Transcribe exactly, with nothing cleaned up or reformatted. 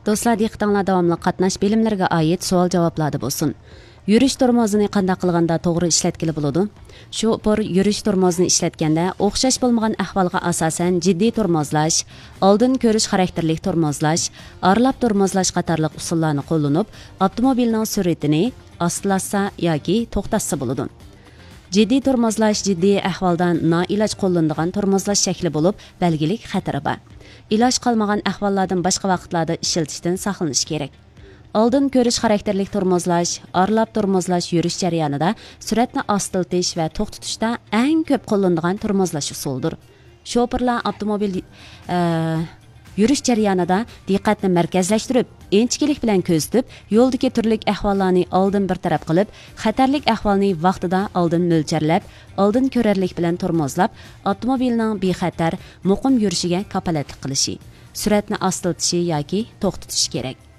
دوستلار، دىققىتىڭلار داۋاملىق قاتناش بىلىملىرىگە ئائىت سوئال-جاۋابلاردا بولسۇن. يۈرۈش تورمۇزىنى قانداق قىلغاندا توغرا ئىشلەتكىلى بولىدۇ؟ شوپۇر يۈرۈش تورمۇزىنى ئىشلەتكەندە ئوخشاش بولمىغان ئەھۋالغا ئاساسەن جىددىي تورمۇزلاش، ئالدىن كۆرۈش خاراكتېرلىك تورمۇزلاش، ئارىلاپ تورمۇزلاش قاتارلىق ئۇسۇللارنى قوللىنىپ، ئاپتوموبىلنىڭ سۈرئىتىنى ئاستىلاتسا ياكى توختاتسا بولىدۇ. جىددىي تورمۇزلاش جىددىي ئەھۋالدا نائىلاج قوللىنىدىغان تورمۇزلاش شەكلى بولۇپ، بەلگىلىك خەتىرى بار. ئىلاج قالمىغان ئەھۋاللاردىن باشقا ۋاقىتلاردا ئىشلىتىشتىن ساقلىنىش كېرەك. ئالدىن كۆرۈش خاراكتېرلىك تورمۇزلاش، ئارىلاپ تورمۇزلاش يۈرۈش جەريانىدا سۈرئەتنى ئاستىلىتىش ۋە توختىتىشتا ئەڭ كۆپ قوللىنىدىغان تورمۇزلاش ئۇسۇلىدۇر. شوپۇرلار ئاپتوموبىل، ئە، يۈرۈش جەريانىدا دىققەتنى مەركەزلەشتۈرۈپ، ئىنچىكىلىك بىلەن كۆزىتىپ، يولدىكى تۈرلۈك ئەھۋاللارنى ئالدىن بىر تەرەپ قىلىپ، خەتەرلىك ئەھۋالنى ۋاقتىدا ئالدىن مۆلچەرلەپ، ئالدىن كۆرەرلىك بىلەن تورمۇزلاپ، ئاپتوموبىلنىڭ بىخەتەر، مۇقىم يۈرۈشىگە كاپالەتلىك قىلىشى، سۈرئەتنى ئاستىلىتىشى ياكى توختىتىشى كېرەك.